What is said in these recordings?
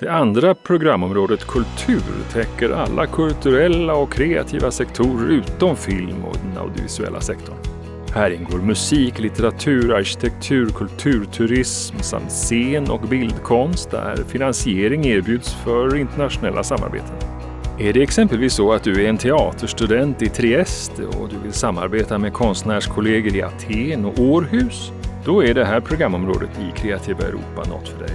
Det andra programområdet kultur täcker alla kulturella och kreativa sektorer utom film och den audiovisuella sektorn. Här ingår musik, litteratur, arkitektur, kulturturism samt scen- och bildkonst där finansiering erbjuds för internationella samarbeten. Är det exempelvis så att du är en teaterstudent i Trieste och du vill samarbeta med konstnärskollegor i Aten och Århus? Då är det här programområdet i Kreativa Europa något för dig.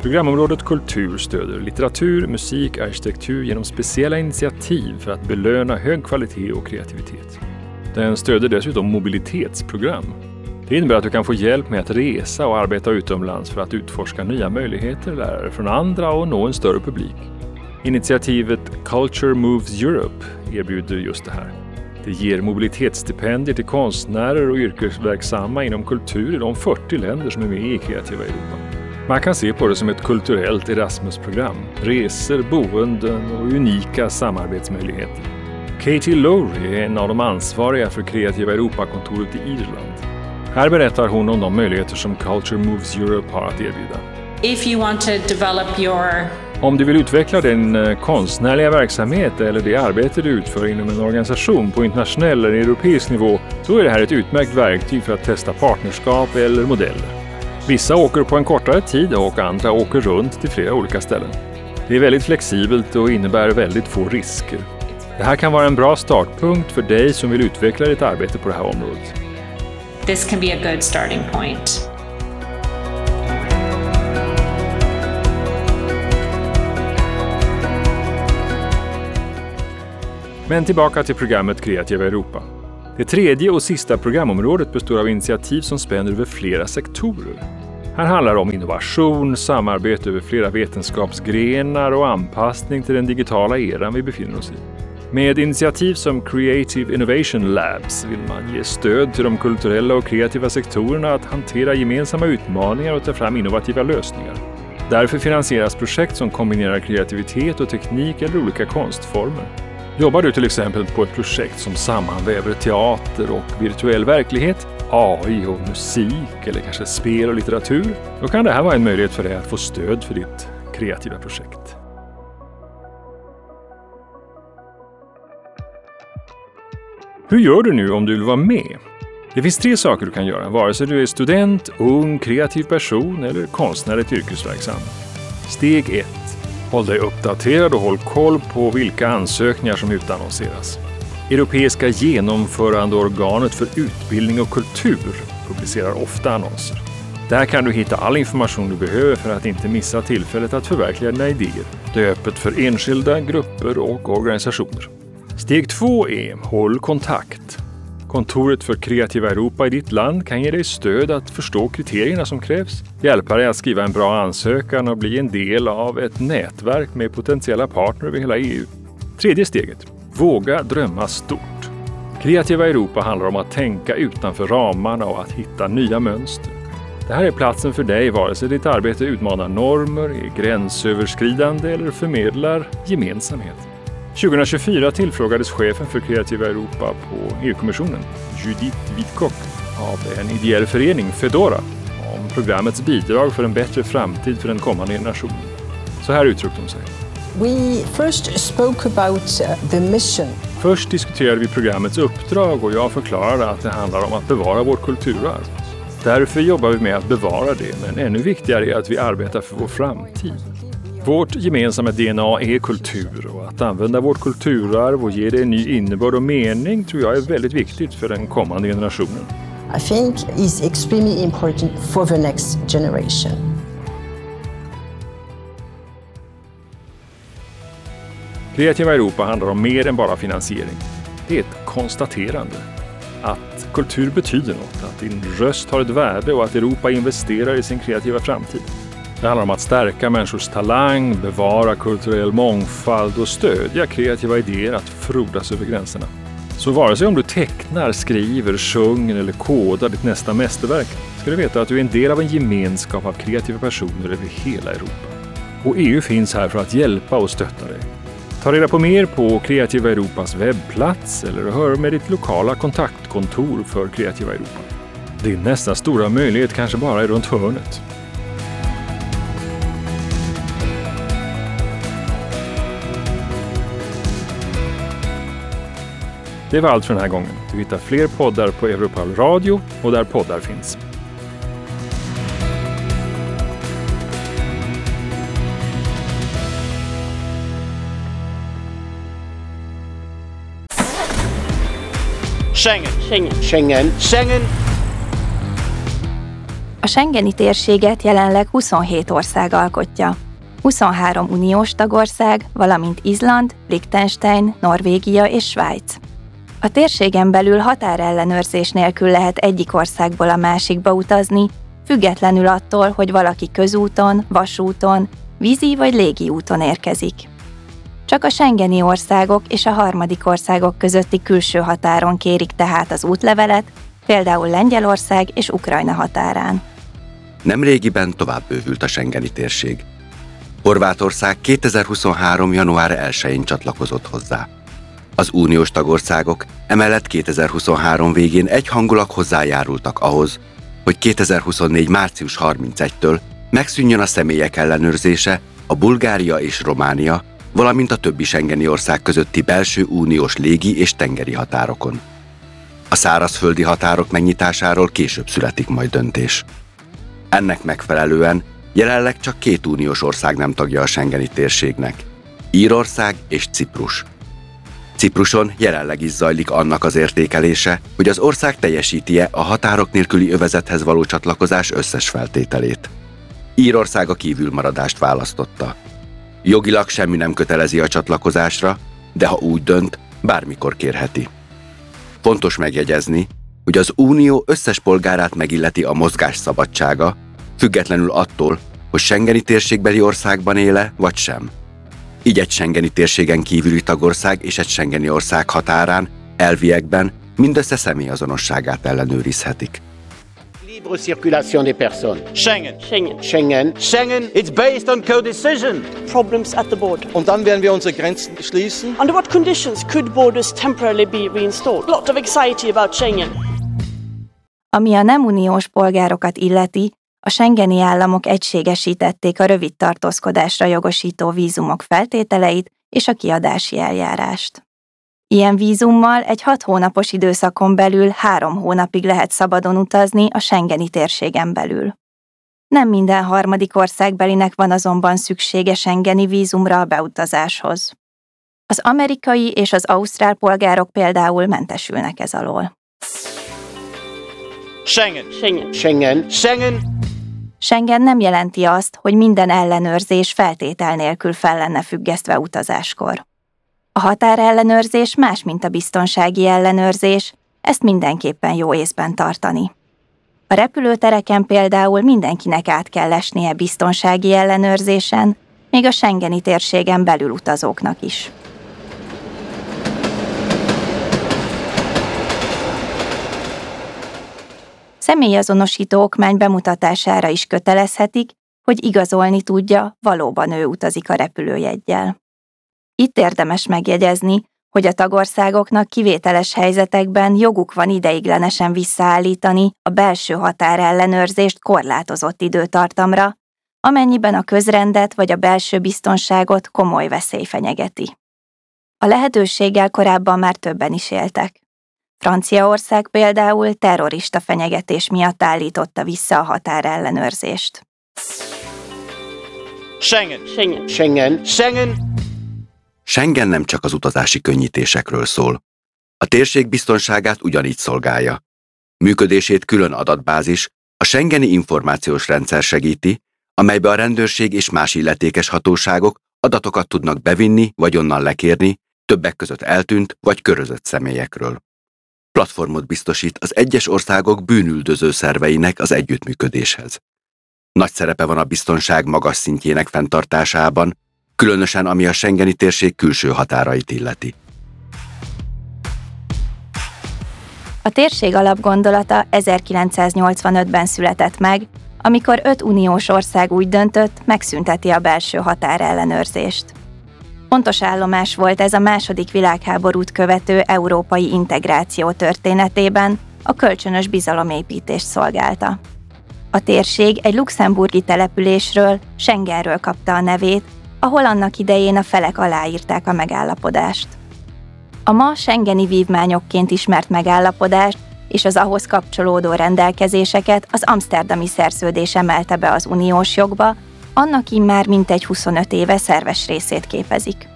Programområdet kultur stöder litteratur, musik, arkitektur genom speciella initiativ för att belöna hög kvalitet och kreativitet. Den stöder dessutom mobilitetsprogram. Det innebär att du kan få hjälp med att resa och arbeta utomlands för att utforska nya möjligheter, lära dig från andra och nå en större publik. Initiativet Culture Moves Europe erbjuder just det här. Det ger mobilitetsstipendier till konstnärer och yrkesverksamma inom kultur i de 40 länder som är med i Kreativa Europa. Man kan se på det som ett kulturellt Erasmus-program. Resor, boenden och unika samarbetsmöjligheter. Katie Lowry är en av de ansvariga för Kreativa Europa-kontoret i Irland. Här berättar hon om de möjligheter som Culture Moves Europe har att erbjuda. If you want to develop your Om du vill utveckla din konstnärliga verksamhet eller det arbete du utför inom en organisation på internationell eller europeisk nivå, så är det här ett utmärkt verktyg för att testa partnerskap eller modeller. Vissa åker på en kortare tid och andra åker runt till flera olika ställen. Det är väldigt flexibelt och innebär väldigt få risker. Det här kan vara en bra startpunkt för dig som vill utveckla ditt arbete på det här området. This can be a good starting point. Men tillbaka till programmet Kreativa Europa. Det tredje och sista programområdet består av initiativ som spänner över flera sektorer. Här handlar det om innovation, samarbete över flera vetenskapsgrenar och anpassning till den digitala eran vi befinner oss i. Med initiativ som Creative Innovation Labs vill man ge stöd till de kulturella och kreativa sektorerna att hantera gemensamma utmaningar och ta fram innovativa lösningar. Därför finansieras projekt som kombinerar kreativitet och teknik eller olika konstformer. Jobbar du till exempel på ett projekt som sammanväver teater och virtuell verklighet, AI och musik eller kanske spel och litteratur, då kan det här vara en möjlighet för dig att få stöd för ditt kreativa projekt. Hur gör du nu om du vill vara med? Det finns 3 saker du kan göra, vare sig du är student, ung, kreativ person eller konstnärligt yrkesverksam. Steg 1. Håll dig uppdaterad och håll koll på vilka ansökningar som utannonseras. Europeiska genomförandeorganet för utbildning och kultur publicerar ofta annonser. Där kan du hitta all information du behöver för att inte missa tillfället att förverkliga dina idéer. Det är öppet för enskilda, grupper och organisationer. Steg 2 är håll kontakt. Kontoret för Kreativa Europa i ditt land kan ge dig stöd att förstå kriterierna som krävs, hjälpa dig att skriva en bra ansökan och bli en del av ett nätverk med potentiella partner över hela EU. Tredje steget. Våga drömma stort. Kreativa Europa handlar om att tänka utanför ramarna och att hitta nya mönster. Det här är platsen för dig vare sig ditt arbete utmanar normer, är gränsöverskridande eller förmedlar gemensamhet. 2024 tillfrågades chefen för Kreativa Europa på E U-kommissionen, Judith Vittecoq, av en ideell förening, Fedora, om programmets bidrag för en bättre framtid för den kommande generationen. Så här uttryckte hon sig. We first spoke about the mission. Först diskuterade vi programmets uppdrag och jag förklarade att det handlar om att bevara vårt kulturarv. Därför jobbar vi med att bevara det, men ännu viktigare är att vi arbetar för vår framtid. Vårt gemensamma DNA är kultur och att använda vårt kulturarv och ge det en ny innebörd och mening tror jag är väldigt viktigt för den kommande generationen. I think is extremely important for the next generation. Kreativa Europa handlar om mer än bara finansiering. Det är ett konstaterande. Att kultur betyder något, att din röst har ett värde och att Europa investerar i sin kreativa framtid. Det handlar om att stärka människors talang, bevara kulturell mångfald och stödja kreativa idéer att frodas över gränserna. Så vare sig om du tecknar, skriver, sjunger eller kodar ditt nästa mästerverk ska du veta att du är en del av en gemenskap av kreativa personer över hela Europa. Och EU finns här för att hjälpa och stötta dig. Ta reda på mer på Kreativa Europas webbplats eller hör med ditt lokala kontaktkontor för Kreativa Europa. Din nästa stora möjlighet kanske bara är runt hörnet. Det var allt för den här gången. Du hittar fler poddar på Europal Radio och där poddar finns. Schengen. Schengen. Schengen. Schengen. A Schengeni térséget jelenleg 27 ország alkotja. 23 uniós tagország, valamint Izland, Liechtenstein, Norvégia és Svájc. A térségen belül határellenőrzés nélkül lehet egyik országból a másikba utazni, függetlenül attól, hogy valaki közúton, vasúton, vízi vagy légi úton érkezik. Csak a schengeni országok és a harmadik országok közötti külső határon kérik tehát az útlevelet, például Lengyelország és Ukrajna határán. Nemrégiben tovább bővült a schengeni térség. Horvátország 2023. január 1-én csatlakozott hozzá. Az uniós tagországok emellett 2023 végén egyhangulag hozzájárultak ahhoz, hogy 2024. március 31-től megszűnjön a személyek ellenőrzése a Bulgária és Románia, valamint a többi schengeni ország közötti belső uniós légi és tengeri határokon. A szárazföldi határok megnyitásáról később születik majd döntés. Ennek megfelelően jelenleg csak 2 uniós ország nem tagja a schengeni térségnek: Írország és Ciprus. Cipruson jelenleg is zajlik annak az értékelése, hogy az ország teljesíti-e a határok nélküli övezethez való csatlakozás összes feltételét. Írország a kívülmaradást választotta. Jogilag semmi nem kötelezi a csatlakozásra, de ha úgy dönt, bármikor kérheti. Fontos megjegyezni, hogy az Unió összes polgárát megilleti a mozgás szabadsága, függetlenül attól, hogy schengeni térségbeli országban éle vagy sem. Így egy schengeni térségen kívüli tagország és egy schengeni ország határán, elviekben mindössze személyazonosságát ellenőrizhetik. Libre circulation des personnes. Schengen. Schengen. Schengen. Schengen. It's based on co-decision. Problems at the border. Und dann werden wir unsere Grenzen schließen. Under what conditions could borders temporarily be reinstalled? Lot of anxiety about Schengen. Ami a nem uniós polgárokat illeti, a schengeni államok egységesítették a rövid tartózkodásra jogosító vízumok feltételeit és a kiadási eljárást. Ilyen vízummal egy 6 hónapos időszakon belül 3 hónapig lehet szabadon utazni a schengeni térségen belül. Nem minden harmadik országbelinek van azonban szüksége schengeni vízumra a beutazáshoz. Az amerikai és az ausztrál polgárok például mentesülnek ez alól. Schengen. Schengen. Schengen. Schengen. Schengen nem jelenti azt, hogy minden ellenőrzés feltétel nélkül fel lenne függesztve utazáskor. A határellenőrzés más, mint a biztonsági ellenőrzés, ezt mindenképpen jó észben tartani. A repülőtereken például mindenkinek át kell esnie biztonsági ellenőrzésen, még a schengeni térségen belül utazóknak is. Személyazonosító okmány bemutatására is kötelezhetik, hogy igazolni tudja, valóban ő utazik a repülőjeggyel. Itt érdemes megjegyezni, hogy a tagországoknak kivételes helyzetekben joguk van ideiglenesen visszaállítani a belső határellenőrzést korlátozott időtartamra, amennyiben a közrendet vagy a belső biztonságot komoly veszély fenyegeti. A lehetőséggel korábban már többen is éltek. Franciaország például terrorista fenyegetés miatt állította vissza a határellenőrzést. Schengen. Schengen. Schengen. Schengen. Schengen nem csak az utazási könnyítésekről szól. A térség biztonságát ugyanígy szolgálja. Működését külön adatbázis, a schengeni információs rendszer segíti, amelybe a rendőrség és más illetékes hatóságok adatokat tudnak bevinni vagy onnan lekérni, többek között eltűnt vagy körözött személyekről. Platformot biztosít az egyes országok bűnüldöző szerveinek az együttműködéshez. Nagy szerepe van a biztonság magas szintjének fenntartásában, különösen ami a schengeni térség külső határait illeti. A térség alapgondolata 1985-ben született meg, amikor 5 uniós ország úgy döntött, megszünteti a belső határellenőrzést. Fontos állomás volt ez a második világháborút követő európai integráció történetében, a kölcsönös bizalomépítést szolgálta. A térség egy luxemburgi településről, Schengenről kapta a nevét, ahol annak idején a felek aláírták a megállapodást. A ma schengeni vívmányokként ismert megállapodást és az ahhoz kapcsolódó rendelkezéseket az amszterdami szerződés emelte be az uniós jogba, annak immár mintegy 25 éve szerves részét képezik.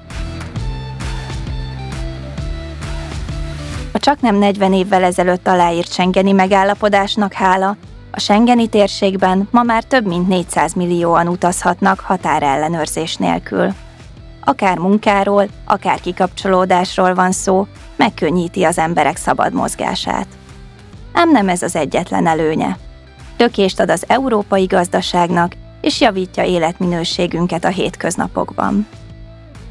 A csaknem 40 évvel ezelőtt aláírt schengeni megállapodásnak hála, a schengeni térségben ma már több mint 400 millióan utazhatnak határellenőrzés nélkül. Akár munkáról, akár kikapcsolódásról van szó, megkönnyíti az emberek szabad mozgását. Ám nem ez az egyetlen előnye. Lökést ad az európai gazdaságnak, és javítja életminőségünket a hétköznapokban.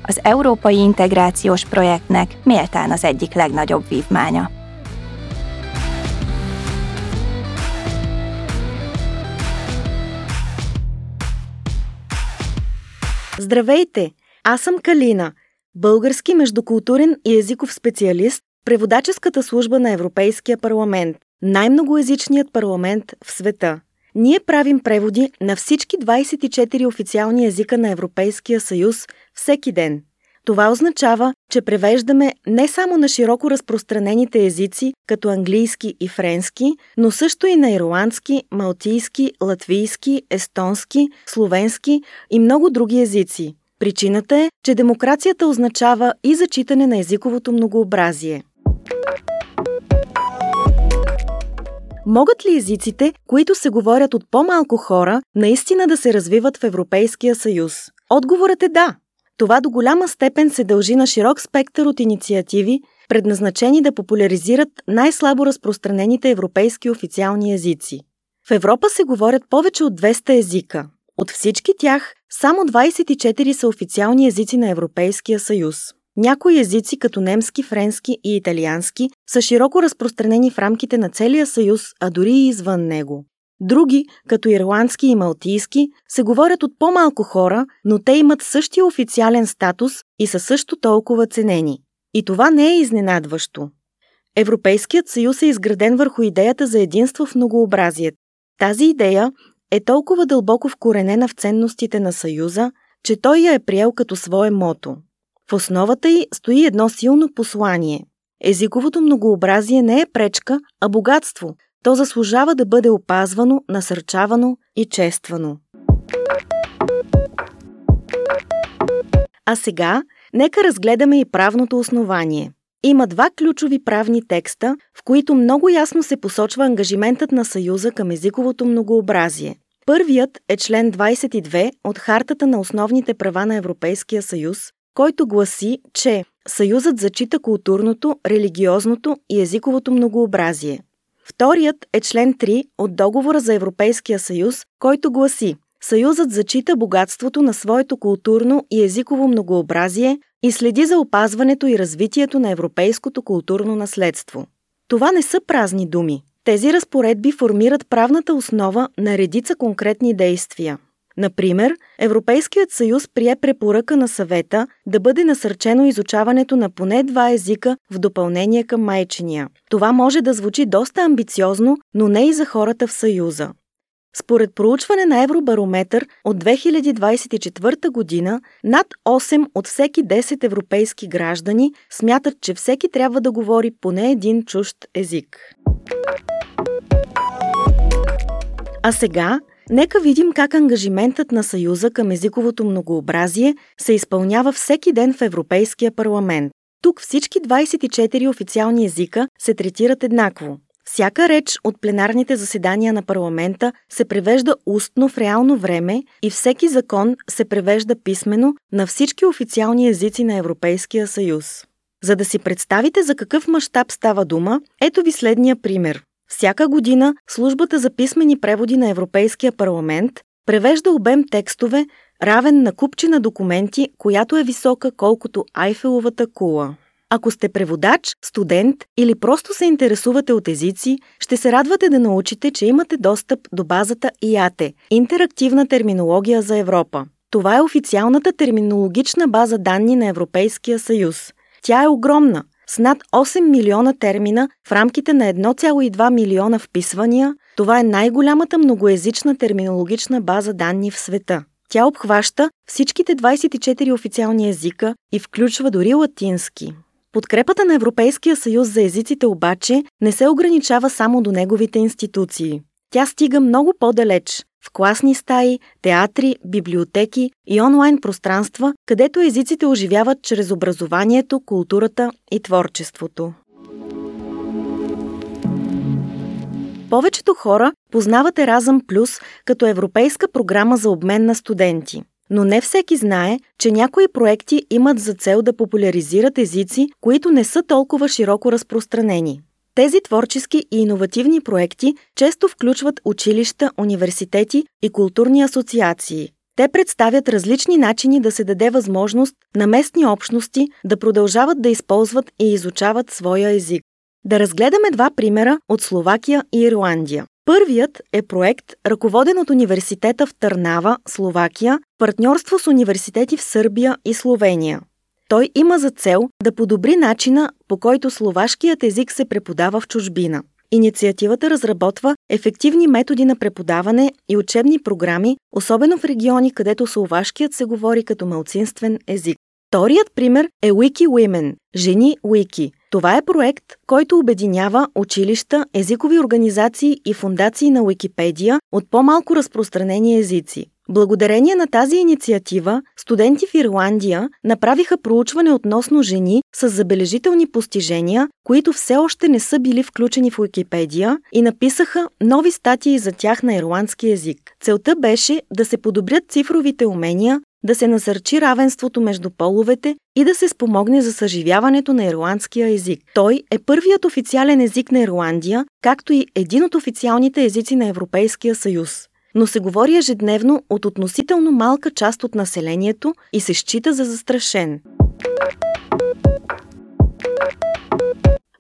Az európai integrációs projektnek méltán az egyik legnagyobb vívmánya. Здравейте! Аз съм Калина, български междукултурен и езиков специалист, преводаческата служба на Европейския парламент, най-многоезичният парламент в света. Ние правим преводи на всички 24 официални езика на Европейския съюз всеки ден. Това означава, че превеждаме не само на широко разпространените езици, като английски и френски, но също и на ирландски, малтийски, латвийски, естонски, словенски и много други езици. Причината е, че демокрацията означава и зачитане на езиковото многообразие. Могат ли езиците, които се говорят от по-малко хора, наистина да се развиват в Европейския съюз? Отговорът е да. Това до голяма степен се дължи на широк спектър от инициативи, предназначени да популяризират най-слабо разпространените европейски официални езици. В Европа се говорят повече от 200 езика. От всички тях, само 24 са официални езици на Европейския съюз. Някои езици, като немски, френски и италиански, са широко разпространени в рамките на целия съюз, а дори и извън него. Други, като ирландски и малтийски, се говорят от по-малко хора, но те имат същия официален статус и са също толкова ценени. И това не е изненадващо. Европейският съюз е изграден върху идеята за единство в многообразието. Тази идея е толкова дълбоко вкоренена в ценностите на съюза, че той я е приел като свое мото. В основата й стои едно силно послание. Езиковото многообразие не е пречка, а богатство. То заслужава да бъде опазвано, насърчавано и чествано. А сега, нека разгледаме и правното основание. Има два ключови правни текста, в които много ясно се посочва ангажиментът на Съюза към езиковото многообразие. Първият е член 22 от Хартата на основните права на Европейския съюз, който гласи, че Съюзът зачита културното, религиозното и езиковото многообразие. Вторият е член 3 от Договора за Европейския съюз, който гласи: Съюзът зачита богатството на своето културно и езиково многообразие и следи за опазването и развитието на европейското културно наследство. Това не са празни думи. Тези разпоредби формират правната основа на редица конкретни действия. Например, Европейският съюз прие препоръка на съвета да бъде насърчено изучаването на поне два езика в допълнение към майчиния. Това може да звучи доста амбициозно, но не и за хората в съюза. Според проучване на Евробарометър от 2024 година, над 8 от всеки 10 европейски граждани смятат, че всеки трябва да говори поне един чужд език. А сега, нека видим как ангажиментът на Съюза към езиковото многообразие се изпълнява всеки ден в Европейския парламент. Тук всички 24 официални езика се третират еднакво. Всяка реч от пленарните заседания на парламента се превежда устно в реално време и всеки закон се превежда писмено на всички официални езици на Европейския съюз. За да си представите за какъв мащаб става дума, ето ви следния пример. Всяка година Службата за писмени преводи на Европейския парламент превежда обем текстове, равен на купчина документи, която е висока колкото Айфеловата кула. Ако сте преводач, студент или просто се интересувате от езици, ще се радвате да научите, че имате достъп до базата ИАТЕ – Интерактивна терминология за Европа. Това е официалната терминологична база данни на Европейския съюз. Тя е огромна, с над 8 милиона термина в рамките на 1,2 милиона вписвания. Това е най-голямата многоезична терминологична база данни в света. Тя обхваща всичките 24 официални езика и включва дори латински. Подкрепата на Европейския съюз за езиците обаче не се ограничава само до неговите институции. Тя стига много по-далеч – в класни стаи, театри, библиотеки и онлайн пространства, където езиците оживяват чрез образованието, културата и творчеството. Повечето хора познават Еразъм Плюс като европейска програма за обмен на студенти. Но не всеки знае, че някои проекти имат за цел да популяризират езици, които не са толкова широко разпространени. Тези творчески и иновативни проекти често включват училища, университети и културни асоциации. Те представят различни начини да се даде възможност на местни общности да продължават да използват и изучават своя език. Да разгледаме два примера от Словакия и Ирландия. Първият е проект, ръководен от университета в Търнава, Словакия, партньорство с университети в Сърбия и Словения. Той има за цел да подобри начина, по който словашкият език се преподава в чужбина. Инициативата разработва ефективни методи на преподаване и учебни програми, особено в региони, където словашкият се говори като малцинствен език. Вторият пример е Wiki Women – Жени Wiki. Това е проект, който обединява училища, езикови организации и фондации на Уикипедия от по-малко разпространени езици. Благодарение на тази инициатива, студенти в Ирландия направиха проучване относно жени с забележителни постижения, които все още не са били включени в Уикипедия, и написаха нови статии за тях на ирландски език. Целта беше да се подобрят цифровите умения, да се насърчи равенството между половете и да се спомогне за съживяването на ирландския език. Той е първият официален език на Ирландия, както и един от официалните езици на Европейския съюз. Но се говори ежедневно от относително малка част от населението и се счита за застрашен.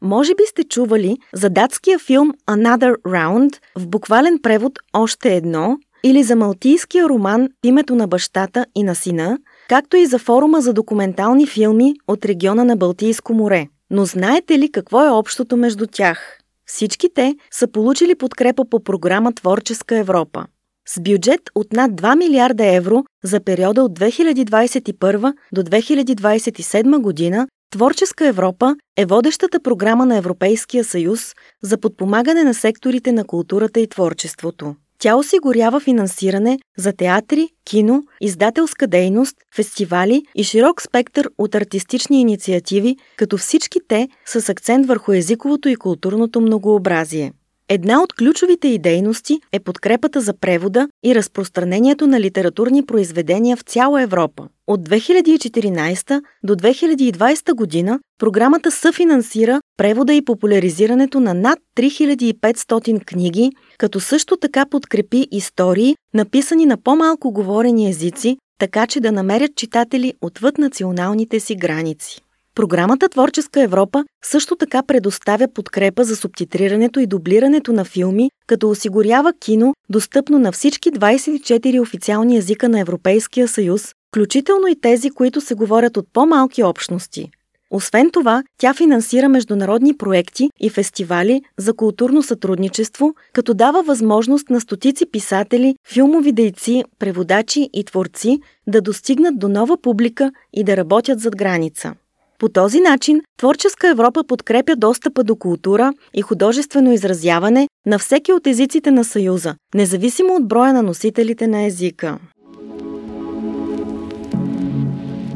Може би сте чували за датския филм Another Round, в буквален превод Още едно, или за малтийския роман Името на бащата и на сина, както и за форума за документални филми от региона на Балтийско море. Но знаете ли какво е общото между тях? Всички те са получили подкрепа по програма Творческа Европа. С бюджет от над 2 милиарда евро за периода от 2021 до 2027 година, Творческа Европа е водещата програма на Европейския съюз за подпомагане на секторите на културата и творчеството. Тя осигурява финансиране за театри, кино, издателска дейност, фестивали и широк спектър от артистични инициативи, като всички те са с акцент върху езиковото и културното многообразие. Една от ключовите й дейности е подкрепата за превода и разпространението на литературни произведения в цяла Европа. От 2014 до 2020 година програмата съфинансира превода и популяризирането на над 3500 книги, като също така подкрепи истории, написани на по-малко говорени езици, така че да намерят читатели отвъд националните си граници. Програмата Творческа Европа също така предоставя подкрепа за субтитрирането и дублирането на филми, като осигурява кино, достъпно на всички 24 официални езика на Европейския съюз, включително и тези, които се говорят от по-малки общности. Освен това, тя финансира международни проекти и фестивали за културно сътрудничество, като дава възможност на стотици писатели, филмови дейци, преводачи и творци да достигнат до нова публика и да работят зад граница. По този начин Творческа Европа подкрепя достъпа до култура и художествено изразяване на всеки от езиците на Съюза, независимо от броя на носителите на езика.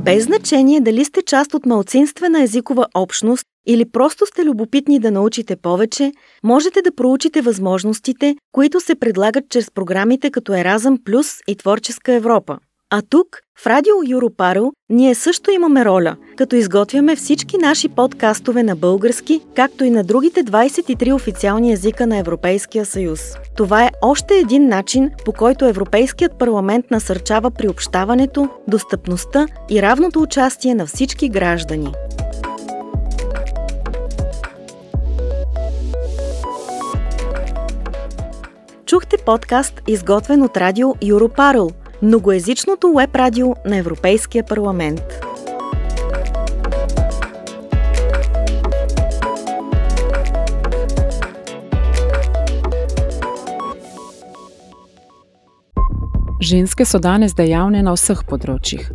Без значение дали сте част от малцинствена езикова общност или просто сте любопитни да научите повече, можете да проучите възможностите, които се предлагат чрез програмите като Еразъм Плюс и Творческа Европа. А тук, в Радио Europarl, ние също имаме роля, като изготвяме всички наши подкастове на български, както и на другите 23 официални езика на Европейския съюз. Това е още един начин, по който Европейският парламент насърчава приобщаването, достъпността и равното участие на всички граждани. Чухте подкаст, изготвен от Радио Europarl, многоезичното уеб радио на Европейския парламент. Ženske so danes dejavne na vseh področjih.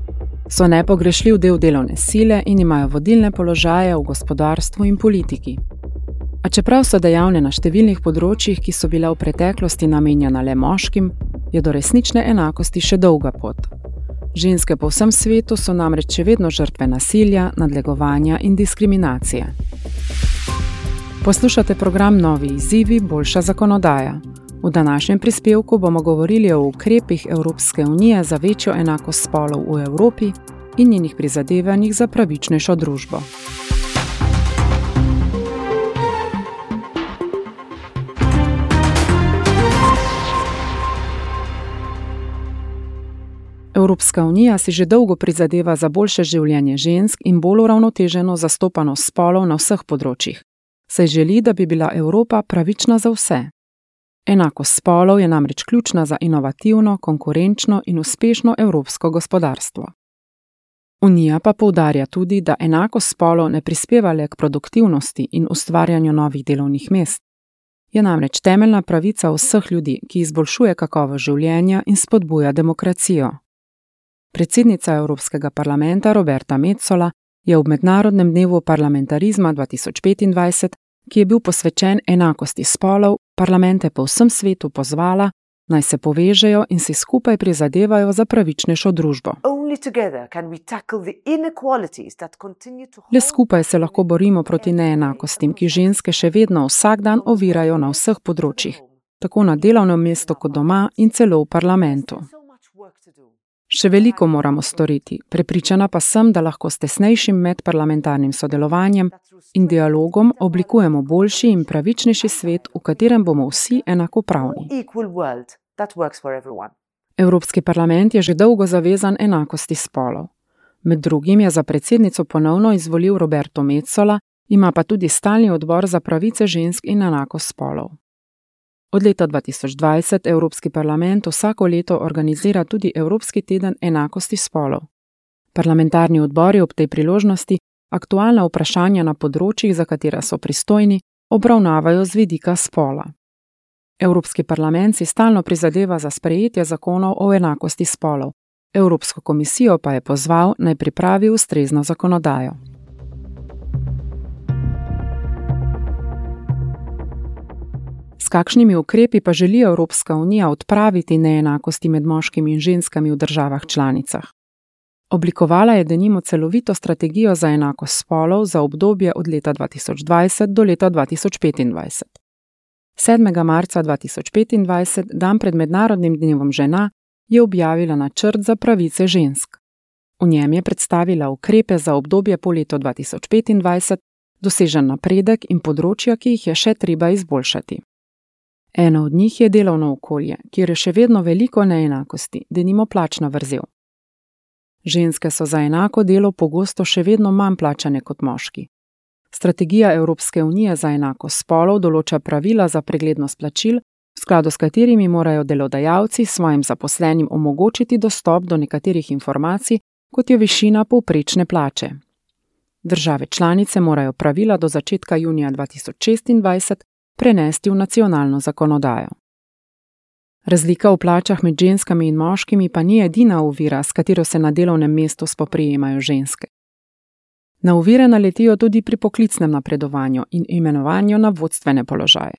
So nepogrešljiv del delovne sile in imajo vodilne položaje v gospodarstvu in politiki. A čeprav so dejavne na številnih področjih, ki so bila v preteklosti namenjena le moškim, je do resnične enakosti še dolga pot. Ženske po vsem svetu so namreč še vedno žrtve nasilja, nadlegovanja in diskriminacije. Poslušate program Novi izzivi, boljša zakonodaja. V današnjem prispevku bomo govorili o ukrepih Evropske unije za večjo enakost spolov v Evropi in njenih prizadevanjih za pravičnejšo družbo. Evropska unija si že dolgo prizadeva za boljše življenje žensk in bolj uravnoteženo zastopanost spolov na vseh področjih, saj želi, da bi bila Evropa pravična za vse. Enakost spolov je namreč ključna za inovativno, konkurenčno in uspešno evropsko gospodarstvo. Unija pa poudarja tudi, da enakost spolov ne prispeva le k produktivnosti in ustvarjanju novih delovnih mest. Je namreč temeljna pravica vseh ljudi, ki izboljšuje kakovost življenja in spodbuja demokracijo. Predsednica Evropskega parlamenta Roberta Metsola je ob Mednarodnem dnevu parlamentarizma 2025, ki je bil posvečen enakosti spolov, parlamente po vsem svetu pozvala, naj se povežejo in si skupaj prizadevajo za pravičnejšo družbo. Le skupaj se lahko borimo proti neenakostim, ki ženske še vedno vsak dan ovirajo na vseh področjih, tako na delovnem mestu kot doma in celo v parlamentu. Še veliko moramo storiti, prepričana pa sem, da lahko s tesnejšim medparlamentarnim sodelovanjem in dialogom oblikujemo boljši in pravičnejši svet, v katerem bomo vsi enakopravni. Evropski parlament je že dolgo zavezan enakosti spolov. Med drugim je za predsednico ponovno izvolil Roberto Metsola, ima pa tudi stalni odbor za pravice žensk in enakost spolov. Od leta 2020 Evropski parlament vsako leto organizira tudi Evropski teden enakosti spolov. Parlamentarni odbori ob tej priložnosti aktualna vprašanja na področjih, za katera so pristojni, obravnavajo z vidika spola. Evropski parlament si stalno prizadeva za sprejetje zakonov o enakosti spolov, Evropsko komisijo pa je pozval, naj pripravi ustrezno zakonodajo. S kakšnimi ukrepi pa želi Evropska unija odpraviti neenakosti med moškimi in ženskami v državah članicah? Oblikovala je denimo celovito strategijo za enakost spolov za obdobje od leta 2020 do leta 2025. 7. marca 2025, dan pred Mednarodnim dnevom žena, je objavila načrt za pravice žensk. V njem je predstavila ukrepe za obdobje po letu 2025, dosežen napredek in področja, ki jih je še treba izboljšati. Eno od njih je delovno okolje, kjer je še vedno veliko neenakosti, denimo plačna vrzel. Ženske so za enako delo pogosto še vedno manj plačane kot moški. Strategija Evropske unije za enakost spolov določa pravila za preglednost plačil, v skladu s katerimi morajo delodajalci svojim zaposlenim omogočiti dostop do nekaterih informacij, kot je višina povprečne plače. Države članice morajo pravila do začetka junija 2026 prenesti v nacionalno zakonodajo. Razlika v plačah med ženskami in moškimi pa ni edina ovira, s katero se na delovnem mestu spoprijemajo ženske. Na ovire naletijo tudi pri poklicnem napredovanju in imenovanju na vodstvene položaje.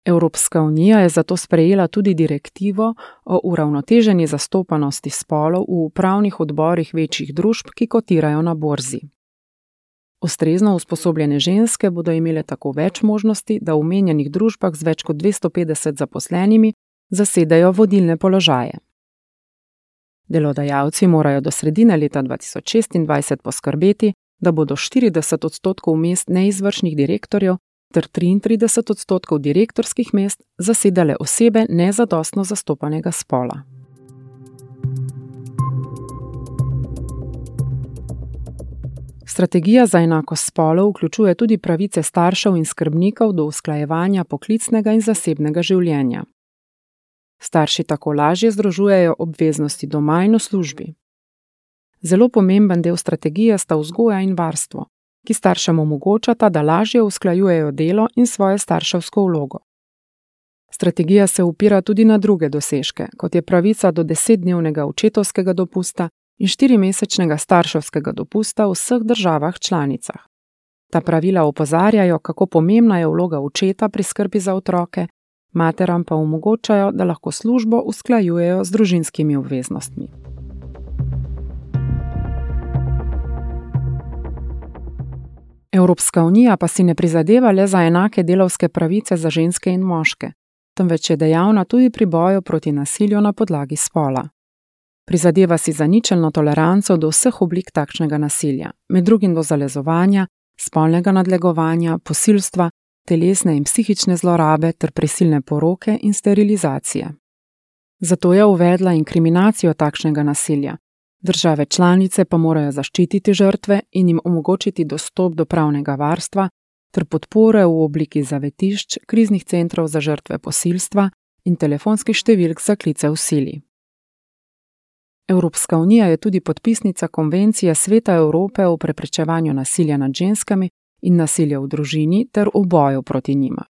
Evropska unija je zato sprejela tudi direktivo o uravnoteženi zastopanosti spolov v upravnih odborih večjih družb, ki kotirajo na borzi. Ustrezno usposobljene ženske bodo imele tako več možnosti, da v omenjenih družbah z več kot 250 zaposlenimi zasedajo vodilne položaje. Delodajalci morajo do sredine leta 2026 poskrbeti, da bodo 40% mest neizvršnih direktorjev ter 33% direktorskih mest zasedale osebe nezadostno zastopanega spola. Strategija za enakost spolov vključuje tudi pravice staršev in skrbnikov do usklajevanja poklicnega in zasebnega življenja. Starši tako lažje združujejo obveznosti doma in v službi. Zelo pomemben del strategije sta vzgoja in varstvo, ki staršem omogočata, da lažje usklajujejo delo in svojo starševsko vlogo. Strategija se opira tudi na druge dosežke, kot je pravica do 10-dnevnega očetovskega dopusta in 4-mesečnega starševskega dopusta v vseh državah članicah. Ta pravila opozarjajo, kako pomembna je vloga očeta pri skrbi za otroke, materam pa omogočajo, da lahko službo usklajujejo z družinskimi obveznostmi. Evropska unija pa si ne prizadeva le za enake delavske pravice za ženske in moške, temveč je dejavna tudi pri boju proti nasilju na podlagi spola. Prizadeva si za ničelno toleranco do vseh oblik takšnega nasilja, med drugim do zalezovanja, spolnega nadlegovanja, posilstva, telesne in psihične zlorabe ter prisilne poroke in sterilizacije. Zato je uvedla inkriminacijo takšnega nasilja. Države članice pa morajo zaščititi žrtve in jim omogočiti dostop do pravnega varstva ter podpore v obliki zavetišč, kriznih centrov za žrtve posilstva in telefonskih številk za klice v sili. Evropska unija je tudi podpisnica Konvencije Sveta Evrope o preprečevanju nasilja nad ženskami in nasilja v družini ter v boju proti njima.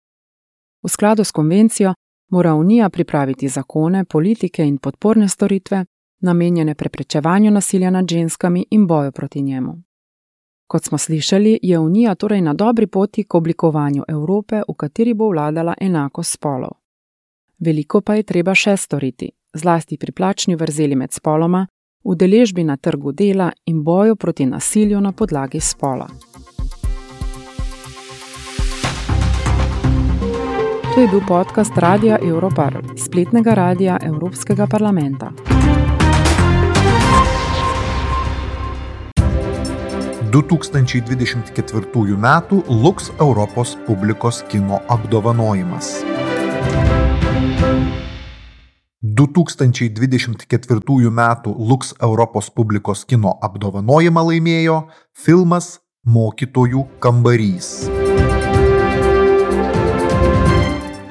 V skladu s konvencijo mora Unija pripraviti zakone, politike in podporne storitve, namenjene preprečevanju nasilja nad ženskami in boju proti njemu. Kot smo slišali, je Unija torej na dobri poti k oblikovanju Evrope, v kateri bo vladala enakost spolov. Veliko pa je treba še storiti, zlasti pri plačni vrzeli med spoloma, udeležbi na trgu dela in boju proti nasilju na podlagi spola. To je bil podcast Radia Europarl, spletnega radia Evropskega parlamenta. 2024 metų Lux Europos publikos kino apdovanojimas. 2024 metų Lux Europos publikos kino apdovanojimą laimėjo filmas Mokytojų kambarys.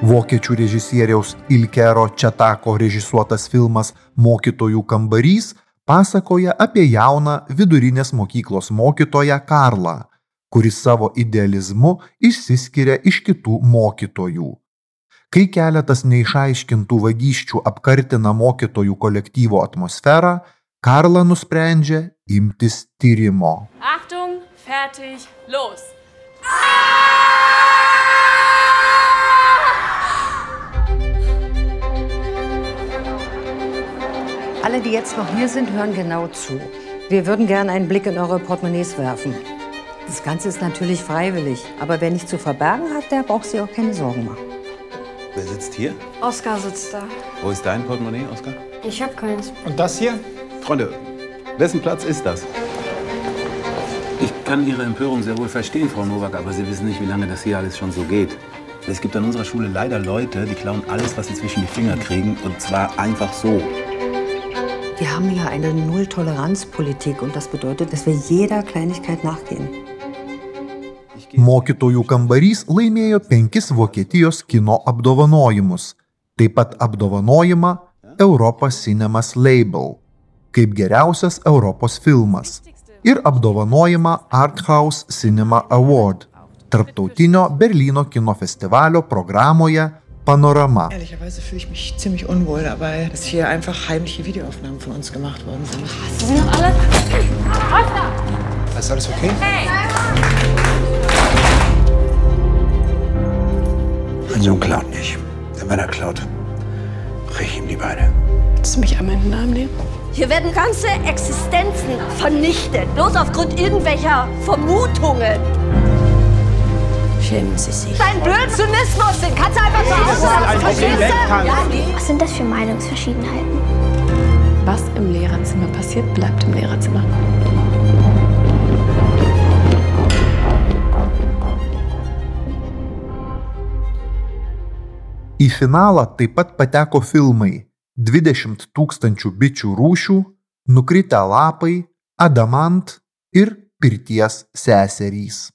Vokiečių režisieriaus Ilkero Četako režisuotas filmas Mokytojų kambarys pasakoja apie jauną vidurinės mokyklos mokytoją Karlą, kuris savo idealizmu išsiskiria iš kitų mokytojų. Kai keletas neišaiškintų vagysčių apkartina mokytojų kolektyvo atmosferą, Karla nusprendžia imtis tyrimo. Achtung, fertig, los! Alle, die jetzt noch hier sind, hören genau zu. Wir würden gerne einen Blick in eure Portemonnaies werfen. Das Ganze ist natürlich freiwillig, aber wer nichts zu verbergen hat, der braucht sich auch keine Sorgen machen. Wer sitzt hier? Oskar sitzt da. Wo ist dein Portemonnaie, Oskar? Ich hab keins. Und das hier? Freunde, wessen Platz ist das? Ich kann Ihre Empörung sehr wohl verstehen, Frau Nowak, aber Sie wissen nicht, wie lange das hier alles schon so geht. Es gibt an unserer Schule leider Leute, die klauen alles, was sie zwischen die Finger kriegen, und zwar einfach so. Wir haben hier eine Null-Toleranz-Politik und das bedeutet, dass wir jeder Kleinigkeit nachgehen. Mokytojų kambarys laimėjo 5 Vokietijos kino apdovanojimus, taip pat apdovanojimą Europa Cinemas Label kaip geriausias Europos filmas ir apdovanojimą Arthouse Cinema Award tarptautinio Berlyno kino festivalio programoje Panorama. Ehrlicherweise fühle ich mich ziemlich unwohl dabei, dass hier einfach heimliche Videoaufnahmen von uns gemacht worden sind. Hast du sie noch alle? Oskar! Ist alles okay? Hey! Mein Sohn klaut nicht. Denn wenn er klaut, brech ich ihm die Beine. Willst du mich einmal in den Arm nehmen? Hier werden ganze Existenzen vernichtet, bloß aufgrund irgendwelcher Vermutungen. Schämen Sie sich. Dein blöden Zynismus, den kannst du einfach zu Hause lassen, verstehst du? Was sind das für Meinungsverschiedenheiten? Was im Lehrerzimmer passiert, bleibt im Lehrerzimmer. Į finalą taip pat pateko filmai 20 tūkstančių bičių rūšių, Nukritę lapai, Adamant ir Pirties seserys.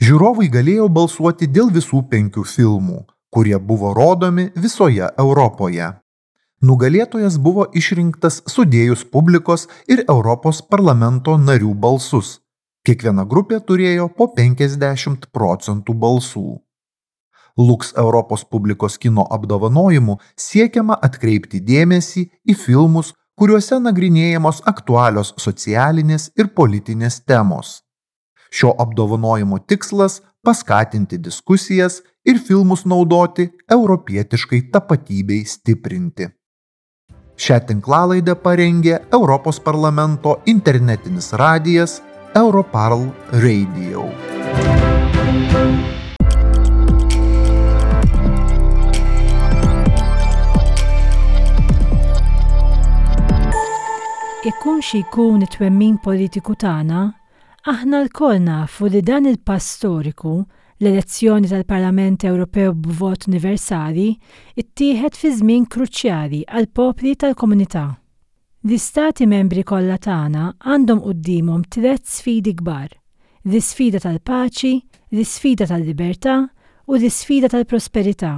Žiūrovai galėjo balsuoti dėl visų 5 filmų, kurie buvo rodomi visoje Europoje. Nugalėtojas buvo išrinktas sudėjus publikos ir Europos parlamento narių balsus. Kiekviena grupė turėjo po 50 procentų balsų. Lux Europos publikos kino apdovanojimu siekiama atkreipti dėmesį į filmus, kuriuose nagrinėjamos aktualios socialinės ir politinės temos. Šio apdovanojimo tikslas – paskatinti diskusijas ir filmus naudoti europietiškai tapatybei stiprinti. Šią tinklalaidę parengė Europos parlamento internetinis radijas Europarl Radio. Ikun xi jkun it-twemmin politiku tagħna, aħna lkoll nafu li dan il-pass storiku, l-elezzjoni tal-Parlament Ewropew b'vot universali, ittieħed fi żmien kruċjali għall-popli tal-Komunità. L-Istati Membri kollha tagħna għandhom quddiemhom tlett sfidi kbar, l-isfida tal-paċi, l-isfida tal-libertà u l-isfida tal-prosperità,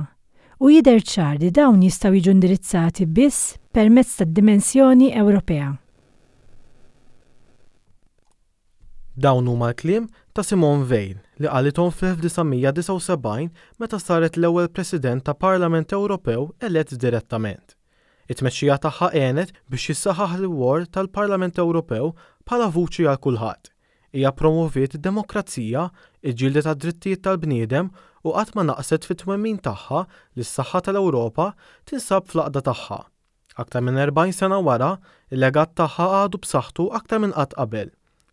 u jidher ċar li dawn jistgħu jiġu indirizzati biss permezz tad-dimensjoni Ewropea. Dawn huma l-kliem ta' Simone Veil li qalithom fl-1979 meta saret l-ewwel President ta' Parlament Ewropew elett direttament. It-tmexxija tagħha għenet biex jissaħħaħ l-rwol tal-Parlament Ewropew bħala vuċi għal kulħadd. Hija ppromoviet id-demokrazija, iġġieldet għad-drittijiet tal-bniedem u qatt ma naqset fit-twemmin tagħha li s-saħħa tal-Ewropa tinsab fl-għaqda tagħha. Aktar minn 40 sena wara, il-legat tagħha għadu b'saħħtu aktar minn qatt qabel.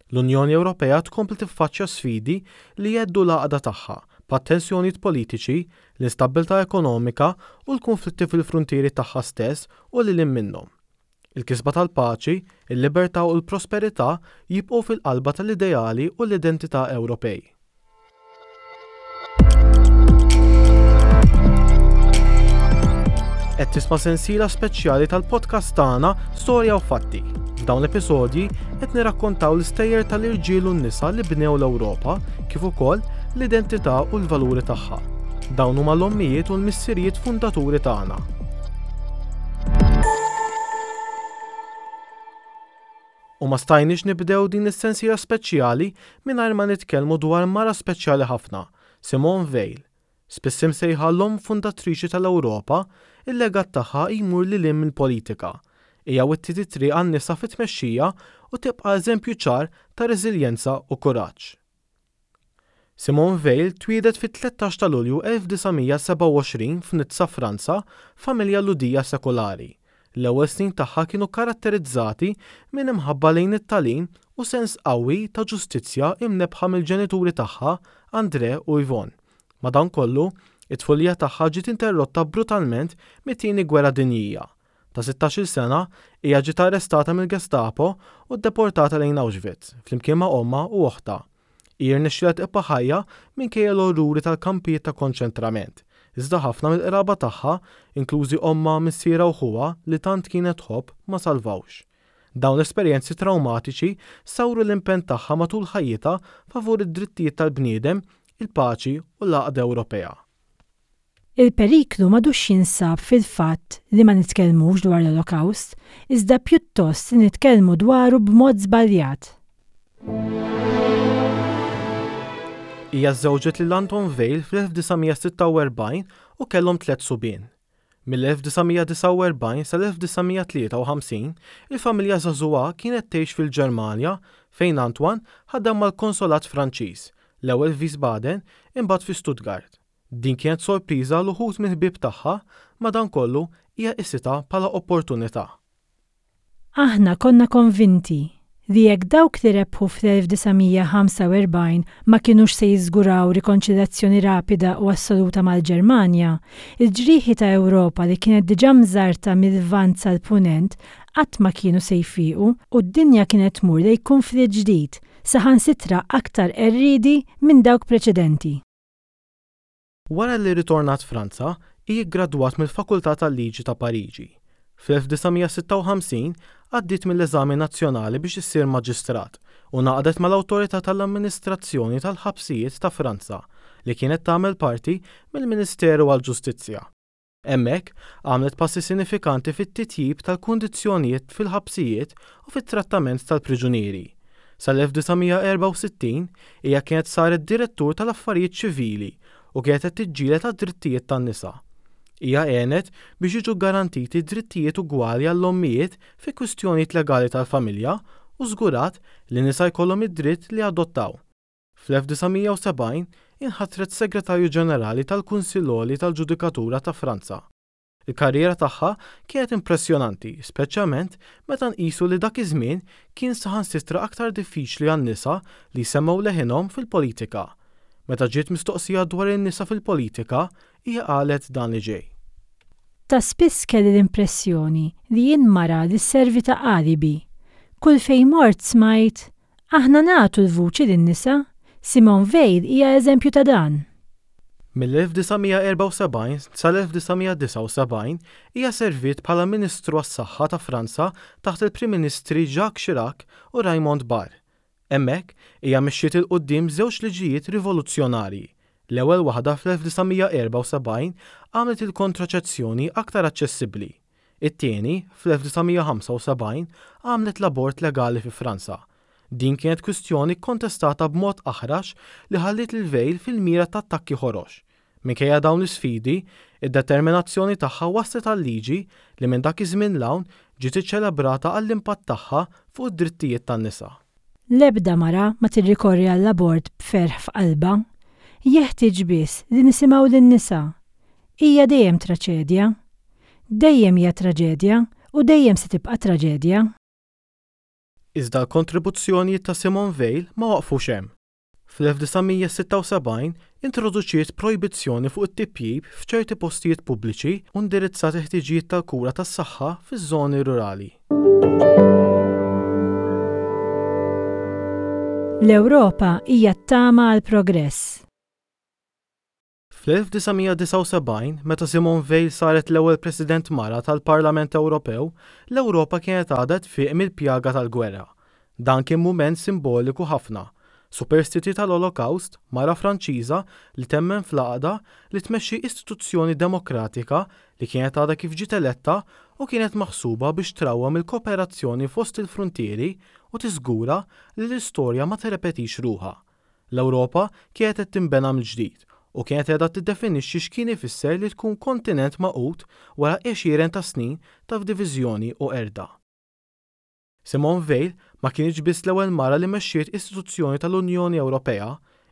L-Unjoni Ewropea tkompli tiffaċċja sfidi li jheddu l-għaqda tagħha, bħat-tensjonijiet politiċi, l-instabbiltà ekonomika u l-kunflitti fil-fruntieri tagħha stess u lil hinn minnhom. Il-kisba tal-paċi, il-libertà u l-prosperità jibqgħu fil-qalba tal-ideali u l-identità Ewropej. Qed tisma' sensiela speċjali tal-podcast tagħna Storja u Fatti. F'dawn l-episodji qed nirrakkontaw l-istejjer tal-irġiel u n-nisa li bnew l-Ewropa kif ukoll l-identità u l-valuri tagħha. Dawn huma l-ommijiet u l-missirijiet fundaturi tagħna. U ma stajniex nibdew din is-sensiela speċjali mingħajr ma nitkellmu dwar mara speċjali ħafna, Simone Veil. Spiss imsejħa l-omm fundatriċi tal-Ewropa, il-legat tagħha jmur lil hinn mill-politika. Hija wittiet it-triq għan-nisa fit-tmexxija u tibqa' eżempju ċar ta' reżiljenza u kuraġġ. Simone Veil twieldet fit-13 ta' Lulju 1927 f'Nizza, Franza, f'familja Lhudija sekulari. L-ewwel snin tagħha kienu kkaratterizzati minn imħabba lejn it-tagħlim u sens qawwi ta' ġustizzja imnebbħa mill-ġenituri tagħha, André u Yvonne. Madankollu, it-tfulija tagħha ġiet interrotta brutalment mit-Tieni Gwerra Dinjija. Ta' sittax-il sena, hija ġiet arrestata mill-Gestapo u ddeportata lejn Auschwitz, flimkien ma' ommha u oħtha. Hi rnexxielha tibqa' ħajja minkejja l-orruri tal-kampijiet ta' konċentrament, iżda ħafna mill-qraba tagħha, inklużi ommha, missierha u ħuha li tant kienet tħobb, ma salvawx. Dawn l-esperjenzi trawmatiċi sawru l-impenn tagħha matul ħajjitha favur id-drittijiet tal-bniedem, il-paċi u l-għaqda Ewropea. Il-periklu m'għadux jinsab fil-fatt li ma nitkellmux dwar l-Olokawst, iżda pjuttost li nitkellmu dwaru b'mod żbaljat. Hija żżewġet lil Anton Veil fl-1946 u kellhom tlett subien. Mill-1949 sal-1953, il-familja żagħżugħa kienet tgħix fil-Ġermanja fejn Antoine ħadem mal-konsolat Franċiż, l-ewwel f'Wiesbaden, imbagħad fi Stuttgart. Din kienet sorpriża għal uħud mill-ħbieb tagħha, madankollu hija qisitha bħala opportunità. Aħna konna konvinti li jekk dawk li rebħu fl-1945 ma kinux se jiżguraw rikonċiljazzjoni rapida u assoluta mal-Ġermanja, il-ġrieħi ta' Ewropa li kienet diġà mżarrta mil-Lvant sal-Punent qatt ma kienu se jfiequ u d-dinja kienet tmur lejn kunflitt ġdid, saħansitra aktar qerriedi minn dawk preċedenti. Wara li rritornat Franza, hi ggradwat mill-Fakultà tal-Liġi ta' Pariġi. Fl-1956 għaddiet mill-eżami nazzjonali biex issir maġistrat u ngħaqdet mal-Awtorità tal-Amministrazzjoni tal-Ħabsijiet ta' Franza li kienet tagħmel parti mill-Ministeru għall-Ġustizzja. Hemmhekk, għamlet passi sinifikanti fit-titjib tal-kundizzjonijiet fil-ħabsijiet u fit-trattament tal-priġunieri. Sal-1964, hija kienet saret direttur tal-affarijiet ċivili u kienet qed tiġġieled għad-drittijiet tan-nisa. Hija għenet biex jiġu ggarantiti drittijiet ugwali għall-ommijiet fi kwistjonijiet legali tal-familja u żgurat li nisa jkollhom id-dritt li jadottaw. Fl-1970 inħatret Segretarju Ġenerali tal-Kunsill Għoli tal-Ġudikatura ta' Franza. Il-karriera tagħha kienet impressjonanti, speċjalment meta nqisu li dak iż-żmien kien saħansitra aktar diffiċli għan-nisa li jsemmgħu leħinhom fil-politika. Meta ġiet mistoqsija dwar in-nisa fil-politika, hija qalet dan li ġej. Ta' spiss kelli l-impressjoni li jien mara li sservi ta' alibi. Kull fejn mort smajt, 'Aħna nagħtu l-vuċi lin-nisa. Simone Veil hija eżempju ta' dan. Mill-1974 sal-1979 hija serviet bħala Ministru għas-Saħħa ta' Franza taħt il-Prim Ministri Jacques Chirac u Raymond Barre. Hemmhekk, hija mexxiet 'il quddiem żewġ liġijiet rivoluzzjonarji. L-ewwel waħda fl-1974 għamlet il-kontraċezzjoni aktar aċċessibbli. It-tieni, fl-1975, għamlet l-abort legali fi Franza. Din kienet kwistjoni kkontestata b'mod aħrax li ħalliet lil Veil fil-mira ta' attakki ħorox. Minkejja dawn l-isfidi, id-determinazzjoni tagħha wasslet għal liġi li minn dak iż-żmien 'l hawn ġiet iċċelebrata għall-impatt tagħha fuq id-drittijiet tan-nisa. L-ebda mara ma tirrikorri għall-abort b'ferħ f'qalbha. Jeħtieġ biss li nisimgħu lin-nisa. Hija dejjem traċedja. Dejjem hija traġedja u dejjem se tibqa' traġedja. Iżda l-kontribuzzjonijiet ta' Simone Veil ma waqfux hemm. Fl-1976 introduċiet projbizzjoni fuq it-tipjip f'ċerti postijiet pubbliċi u indirizzat il-ħtiġijiet tal-kura tas-saħħa fiż-żoni rurali. L-Ewropa hija t-tama għall-progress. Fl-1979, meta Simone Veil saret l-ewwel President mara tal-Parlament Ewropew, l-Ewropa kienet għadha tfiq mill-pjaga tal-gwerra. Dan kien mument simboliku ħafna. Superstiti tal-Olokawst, mara Franċiża li temmen fl-għaqda li tmexxi istituzzjoni demokratika li kienet għadha kif ġiet eletta u kienet maħsuba biex trawwem il-kooperazzjoni fost il-fruntieri u tiżgura li l-istorja ma tirrepetix ruħha. L-Ewropa kienet qed tinbena mill-ġdid u kienet qiegħda tiddefinixxi x'kien ifisser li tkun kontinent magħqud wara għexieren ta' snin ta' f'diviżjoni u qerda. Simone Veil ma kinitx biss l-ewwel mara li mexxiet istituzzjoni tal-Unjoni Ewropea,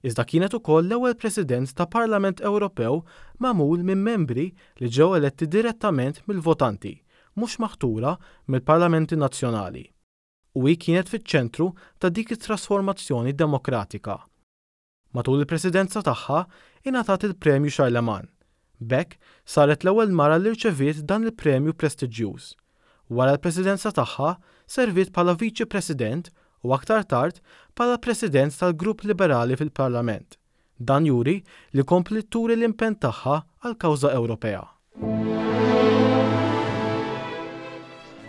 iżda kienet ukoll l-ewwel President ta' Parlament Ewropew magħmul minn membri li ġew eletti direttament mill-votanti, mhux maħtura mill-parlamenti nazzjonali. U hi kienet fiċ-ċentru ta' dik it-trasformazzjoni demokratika. Matul il-presidenza tagħha, ingħatat il-Premju Charlemagne. B'hekk, saret l-ewwel mara li rċeviet dan il-premju prestiġjuż. Wara l-presidenza tagħha, serviet bħala Viċi President u aktar tard bħala President tal-Grupp Liberali fil-Parlament. Dan juri li kompliet turi l-impenn tagħha għall-kawża Ewropea.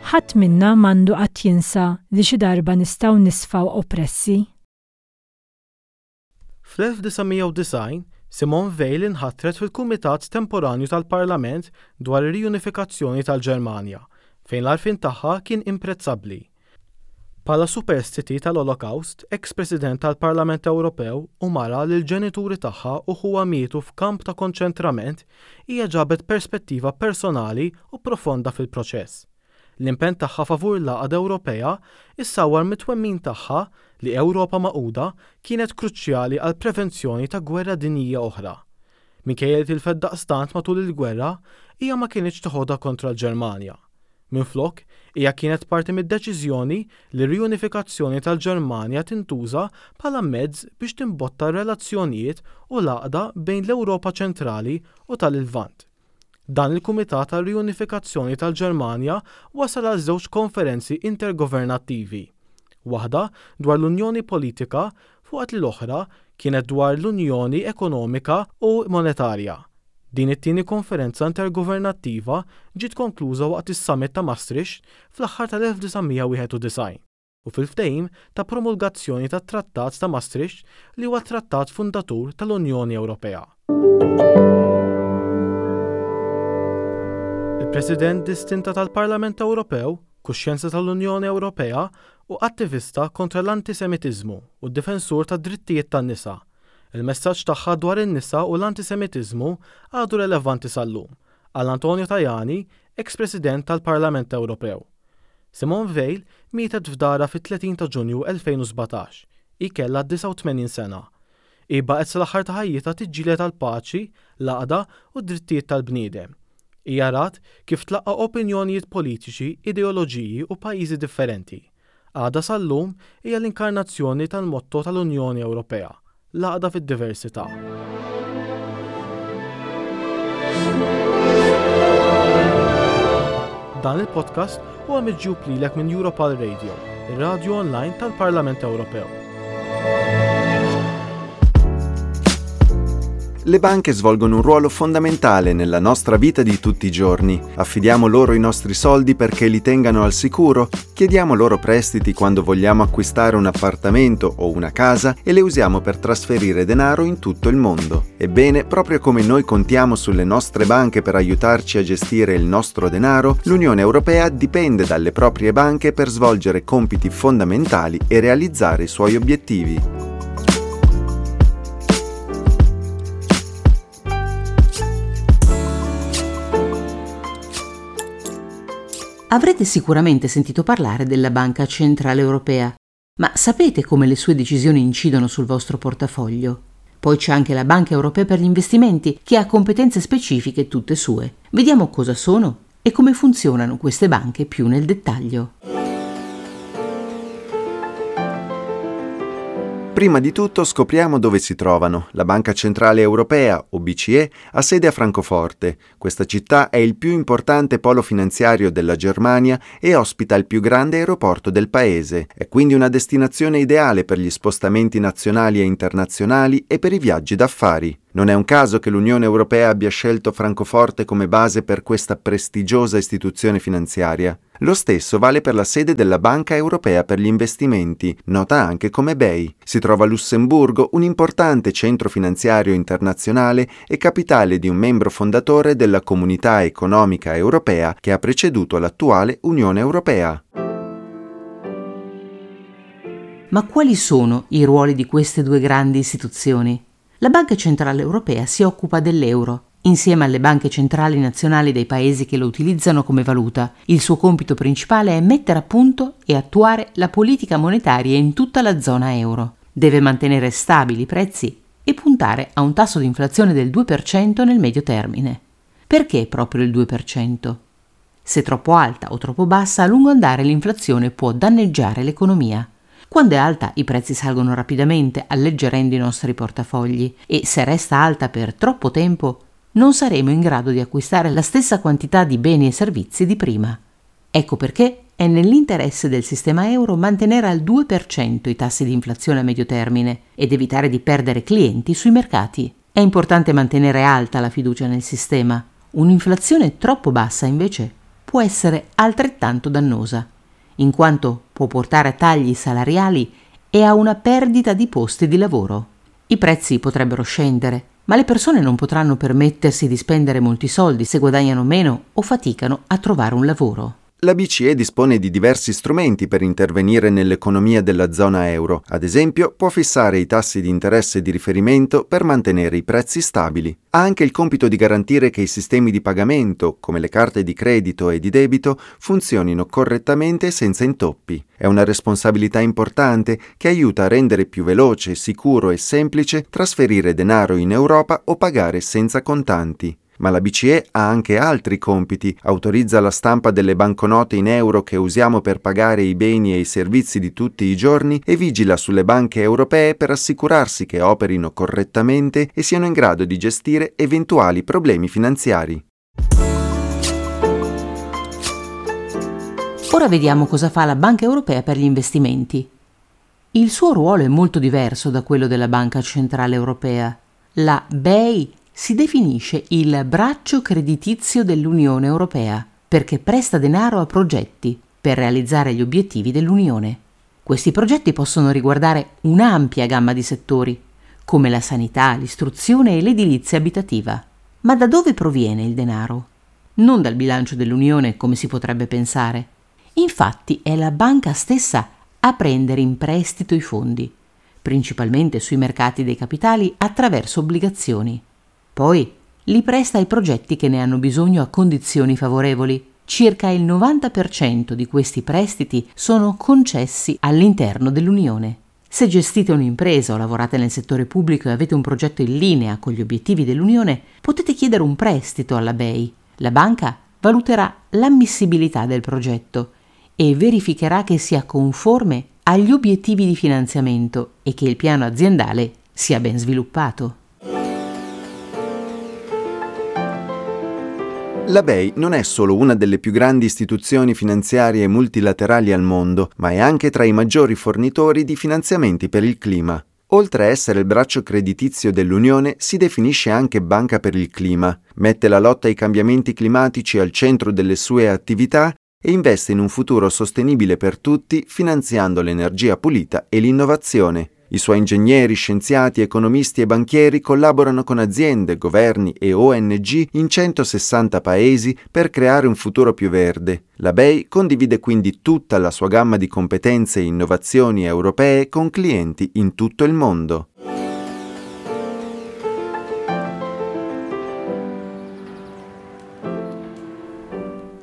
Ħadd minna m'għandu qatt jinsa li xi darba nistgħu nisfaw oppressi. Fl-1990, Simone Veil inħatret fil-Kumitat Temporanju tal-Parlament dwar ir-Riunifikazzjoni tal-Ġermanja, fejn l-għarfien tagħha kien imprezzabbli. Bħala superstiti tal-Olokawst, eks President tal-Parlament Ewropew u mara li l-ġenituri tagħha u ħuha mietu f'kamp ta' konċentrament, hija ġabet perspettiva personali u profonda fil-proċess. L-impenn tagħha favur l-għaqda Ewropea issawwar mit-twemmin tagħha li Ewropa magħquda kienet kruċjali għall-prevenzjoni ta' gwerra dinjija oħra. Minkejja li tilfet daqstant matul il-gwerra, hija ma kinitx teħodha kontra l-Ġermanja. Minflok, hija kienet parti mid-deċiżjoni li r-riunifikazzjoni tal-Ġermanja tintuża bħala mezz biex timbotta r-relazzjonijiet u l-għaqda bejn l-Ewropa Ċentrali u tal-Lvant. Dan il-Kumitat għar-Riunifikazzjoni tal-Ġermanja wasal għal żewġ konferenzi intergovernattivi, waħda dwar l-Unjoni Politika waqt li l-oħra kienet dwar l-Unjoni Ekonomika u Monetarja. Din it-tieni konferenza intergovernattiva ġiet konkluża waqt is-Summit ta' Maastricht fl-aħħar tal-1991 u fil-ftehim ta' promulgazzjoni tat-Trattat ta' Maastricht li huwa t-trattat fundatur tal-Unjoni Ewropea. Il-President distinta tal-Parlament Ewropew, kuxjenza tal-Unjoni Ewropea u attivista kontra l-antisemitiżmu u difensur tad-drittijiet tan-nisa. Il-messaġġ tagħha dwar in-nisa u l-antisemitiżmu għadu relevanti sal-lum. qal Antonio Tajani, eks President tal-Parlament Ewropew. Simone Veil mietet f'darha fit-30 ta' Ġunju 2017. Hi kellha 89 sena. Hi baqgħet sal-aħħar ta' ħajjitha tiġġieled għall-paċi, l-għaqda u d-drittijiet tal-bniedem. Hija rat kif tlaqqa' opinjonijiet politiċi, ideoloġiji u pajjiżi differenti. Għadha sal-lum hija l-inkarnazzjoni tal-motto tal-Unjoni Ewropea, l-għaqda fid-diversità. Dan il-podcast huwa miġjub lilek minn Europal Radio, ir-radju online tal-Parlament Ewropew. Le banche svolgono un ruolo fondamentale nella nostra vita di tutti i giorni. Affidiamo loro i nostri soldi perché li tengano al sicuro, chiediamo loro prestiti quando vogliamo acquistare un appartamento o una casa e le usiamo per trasferire denaro in tutto il mondo. Ebbene, proprio come noi contiamo sulle nostre banche per aiutarci a gestire il nostro denaro, l'Unione Europea dipende dalle proprie banche per svolgere compiti fondamentali e realizzare i suoi obiettivi. Avrete sicuramente sentito parlare della Banca Centrale Europea, ma sapete come le sue decisioni incidono sul vostro portafoglio? Poi c'è anche la Banca Europea per gli investimenti, che ha competenze specifiche tutte sue. Vediamo cosa sono e come funzionano queste banche più nel dettaglio. Prima di tutto scopriamo dove si trovano. La Banca Centrale Europea, o BCE, ha sede a Francoforte. Questa città è il più importante polo finanziario della Germania e ospita il più grande aeroporto del paese. È quindi una destinazione ideale per gli spostamenti nazionali e internazionali e per i viaggi d'affari. Non è un caso che l'Unione Europea abbia scelto Francoforte come base per questa prestigiosa istituzione finanziaria. Lo stesso vale per la sede della Banca Europea per gli Investimenti, nota anche come BEI. Si trova a Lussemburgo, un importante centro finanziario internazionale e capitale di un membro fondatore della Comunità Economica Europea che ha preceduto l'attuale Unione Europea. Ma quali sono i ruoli di queste due grandi istituzioni? La Banca Centrale Europea si occupa dell'euro, insieme alle banche centrali nazionali dei paesi che lo utilizzano come valuta. Il suo compito principale è mettere a punto e attuare la politica monetaria in tutta la zona euro. Deve mantenere stabili i prezzi e puntare a un tasso di inflazione del 2% nel medio termine. Perché proprio il 2%? Se troppo alta o troppo bassa, a lungo andare l'inflazione può danneggiare l'economia. Quando è alta i prezzi salgono rapidamente, alleggerendo i nostri portafogli, e se resta alta per troppo tempo non saremo in grado di acquistare la stessa quantità di beni e servizi di prima. Ecco perché è nell'interesse del sistema euro mantenere al 2% i tassi di inflazione a medio termine ed evitare di perdere clienti sui mercati. È importante mantenere alta la fiducia nel sistema. Un'inflazione troppo bassa, invece, può essere altrettanto dannosa, in quanto può portare a tagli salariali e a una perdita di posti di lavoro. I prezzi potrebbero scendere, ma le persone non potranno permettersi di spendere molti soldi se guadagnano meno o faticano a trovare un lavoro. La BCE dispone di diversi strumenti per intervenire nell'economia della zona euro. Ad esempio, può fissare i tassi di interesse di riferimento per mantenere i prezzi stabili. Ha anche il compito di garantire che i sistemi di pagamento, come le carte di credito e di debito, funzionino correttamente e senza intoppi. È una responsabilità importante che aiuta a rendere più veloce, sicuro e semplice trasferire denaro in Europa o pagare senza contanti. Ma la BCE ha anche altri compiti, autorizza la stampa delle banconote in euro che usiamo per pagare i beni e i servizi di tutti i giorni e vigila sulle banche europee per assicurarsi che operino correttamente e siano in grado di gestire eventuali problemi finanziari. Ora vediamo cosa fa la Banca Europea per gli investimenti. Il suo ruolo è molto diverso da quello della Banca Centrale Europea. La BEI si definisce il braccio creditizio dell'Unione Europea perché presta denaro a progetti per realizzare gli obiettivi dell'Unione. Questi progetti possono riguardare un'ampia gamma di settori, come la sanità, l'istruzione e l'edilizia abitativa. Ma da dove proviene il denaro? Non dal bilancio dell'Unione, come si potrebbe pensare. Infatti è la banca stessa a prendere in prestito i fondi, principalmente sui mercati dei capitali attraverso obbligazioni. Poi Li presta ai progetti che ne hanno bisogno a condizioni favorevoli. Circa il 90% di questi prestiti sono concessi all'interno dell'Unione. Se gestite un'impresa o lavorate nel settore pubblico e avete un progetto in linea con gli obiettivi dell'Unione, potete chiedere un prestito alla BEI. La banca valuterà l'ammissibilità del progetto e verificherà che sia conforme agli obiettivi di finanziamento e che il piano aziendale sia ben sviluppato. La BEI non è solo una delle più grandi istituzioni finanziarie multilaterali al mondo, ma è anche tra i maggiori fornitori di finanziamenti per il clima. Oltre a essere il braccio creditizio dell'Unione, si definisce anche banca per il clima, mette la lotta ai cambiamenti climatici al centro delle sue attività e investe in un futuro sostenibile per tutti finanziando l'energia pulita e l'innovazione. I suoi ingegneri, scienziati, economisti e banchieri collaborano con aziende, governi e ONG in 160 paesi per creare un futuro più verde. La BEI condivide quindi tutta la sua gamma di competenze e innovazioni europee con clienti in tutto il mondo.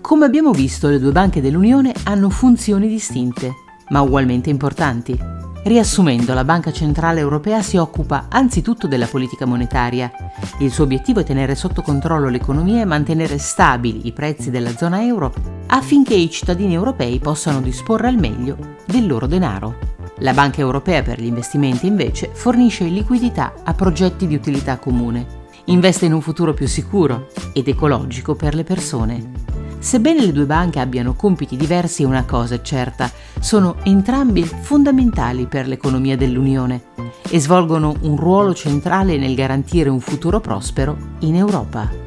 Come abbiamo visto, le due banche dell'Unione hanno funzioni distinte, ma ugualmente importanti. Riassumendo, la Banca Centrale Europea si occupa anzitutto della politica monetaria. Il suo obiettivo è tenere sotto controllo l'economia e mantenere stabili i prezzi della zona euro affinché i cittadini europei possano disporre al meglio del loro denaro. La Banca Europea per gli investimenti, invece, fornisce liquidità a progetti di utilità comune. Investe in un futuro più sicuro ed ecologico per le persone. Sebbene le due banche abbiano compiti diversi, una cosa è certa, sono entrambi fondamentali per l'economia dell'Unione e svolgono un ruolo centrale nel garantire un futuro prospero in Europa.